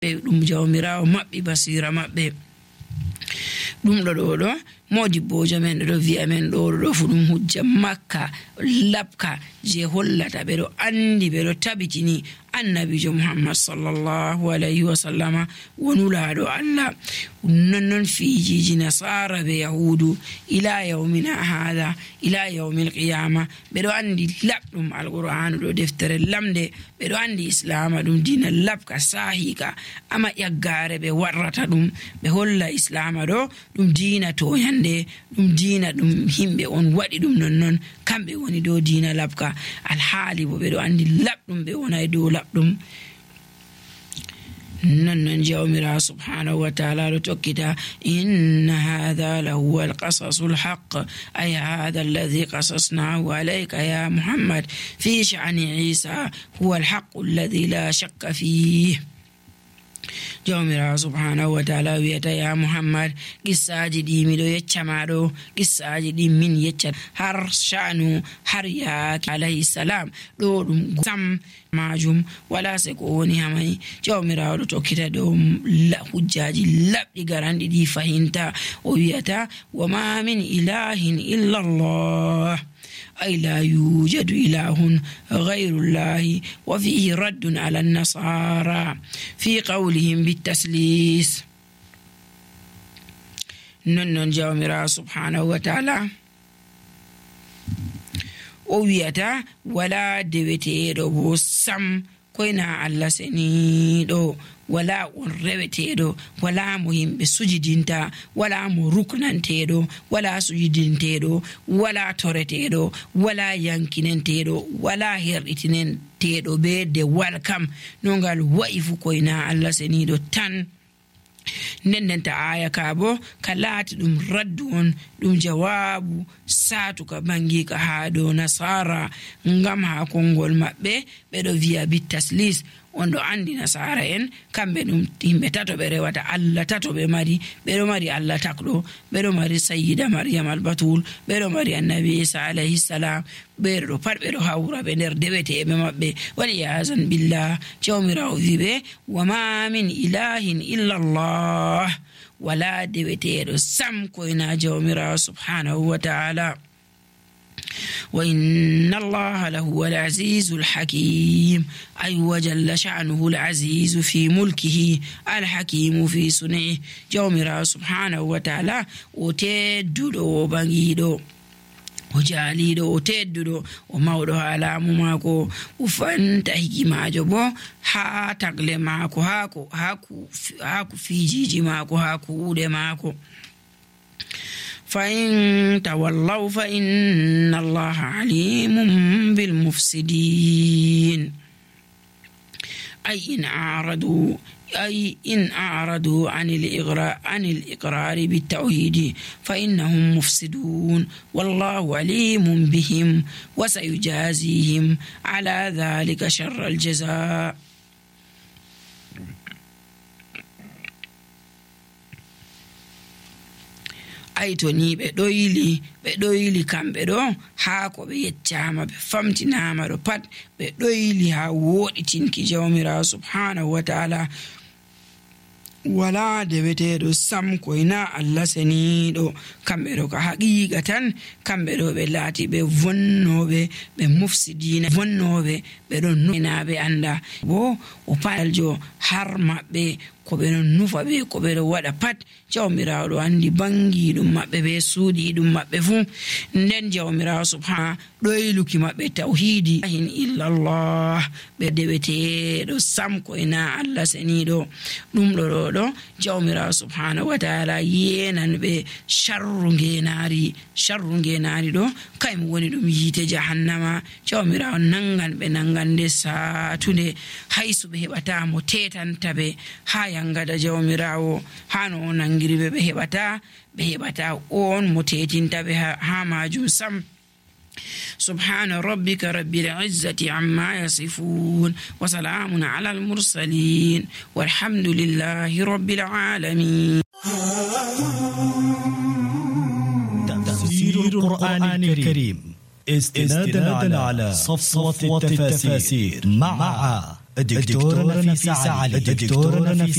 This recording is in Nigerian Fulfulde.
ɗum jawmirawo maɓɓi basira maɓɓe. ɗum ɗo modibbojo men ɗo wi'a men ɗo fu ɗum hujja makka labka je hollata ɓe ɗo andi ɓe ɗo tabitini annabijo muhammad sallallahu alaihi wa sallama wonulaɗo Allah. nonnon fijiji nasara be yahudu ila yawmina hada ila yawmil qiyama ɓe ɗo andi labɗum alqur'anu ɗo deftere lamde. ɓe ɗo andi islama ɗum dina labka sahika ama yaggare ɓe warrata ɗum ɓe holla islama ɗo ɗum dina toyande, ɗum dina ɗum himɓe on waɗi ɗum nonnon kamɓe woni dow dina labka, alhaali bo ɓe ɗo andi labɗum ɓe wonay dow labɗum. nonnon jawmira subhanahu wa ta'ala ɗo tokkita inna hadha lahuwa alqasasu alhaq ay hadha alladhi qasasnahu alayka ya muhammad fi sha'ni isa huwa alhaq alladhi la shakka fihi. jawmirawo subhanahu wa ta'ala wiyata ya muhammad qissaji ɗi miɗo yecca maɗo, qissaji ɗi min yecca har sha'nu har yaaki alayhi salam ɗo ɗum sam majum wala se ko woni hamai. jawmirawo ɗo tokkita ɗo hujjaji labɗi garanɗi ɗi fahinta o wiyata wa ma min ilahin illa Allah أي لا يوجد إله غير الله. وفيه رد على النصارى في قولهم بالتسليس. ننن جاومرا سبحانه وتعالى ويتا ولا دبتيرو سم كوينا الله سنيدو wala on reweteɗo, wala mo yimɓe sujidinta, wala mo ruknanteɗo, wala sujidinteɗo, wala toreteɗo, wala yankinenteɗo, wala herɗitinenteɗo be de walkam no ngal wa'i fu koyna Allah seniɗo tan. nendenta aya ka bo ka laati ɗum raddu on, ɗum jawabu satuka bangika ha dow nasara ngam ha kongol maɓɓe ɓeɗo wiya bitaslis. on ɗo andi nasara en kamɓe ɗum yimɓe tato ɓe rewata Allah tato ɓe mari. ɓeɗo mari Allah takɗo, ɓeɗo mari sayyida maryam albatul, ɓeɗo mari annabi isa alayhi salam, ɓeɗo ɗo pat ɓeɗo hawra ɓe nder deweteɓe maɓɓe waliyazan billah. jawmirawo wiɓe wa ma min ilahin illa Allah, wala deweteɗo sam koyna jawmirawo subhanahu wa ta'ala. وإن الله لهو العزيز الحكيم أي وجل شأنه العزيز في ملكه الحكيم في صنعه. جومرا سبحانه وتعالى وتددو بغيدو o jaaliɗo o tedduɗo o mawɗo ha laamu maako o fanta hikimajo bo ha tagle maako haku fijiji maako ha kuuɗe maako. فإن تولوا فإن الله عليم بالمفسدين أي إن أعرضوا عن الإقرار بالتوحيد فإنهم مفسدون والله عليم بهم وسيجازيهم على ذلك شر الجزاء. ay to ni ɓe ɗoyli kamɓe ɗo haa ko ɓe yeccama ɓe famtinama ɗo pat ɓe ɗoyli haa woɗitinki jawmirawo subhanahu wa ta'ala wala deweteɗo sam koyna Allah seniɗo. kamɓe ɗo ka haqiqa tan kamɓe ɗo ɓe laati ɓe vonnoɓe ɓe mufsidina vonnoɓe ɓe ɗon nunaɓe anda bo o paljo har maɓɓe ko ɓe non nufa ɓe ko ɓe ɗo waɗa pat jawmirawo ɗo andi bangi ɗum maɓɓe ɓe suuɗi ɗum maɓɓe fuu. nden jawmirawo subhana ɗoyluki maɓɓe tawhidi hin illallah ɓe deweteɗo sam koyna Allah seniɗo. ɗum ɗo jawmirawo subhanahu wa ta'ala yenan ɓe sharru ngenari ɗo kaymo woni ɗum yiite jahannama. jawmirawo nangan ɓe nangande satunde haysu ɓe heɓata mo tetanta ɓe ha yangada jawmirawo hano o nangiri ɓe heɓata on mo tetinta ɓe ha majum sam. سبحان ربك رب العزة عما يصفون وسلام على المرسلين والحمد لله رب العالمين. تفسير القرآن الكريم استنادا على صفوة التفاسير مع الدكتورة نفيسة علي.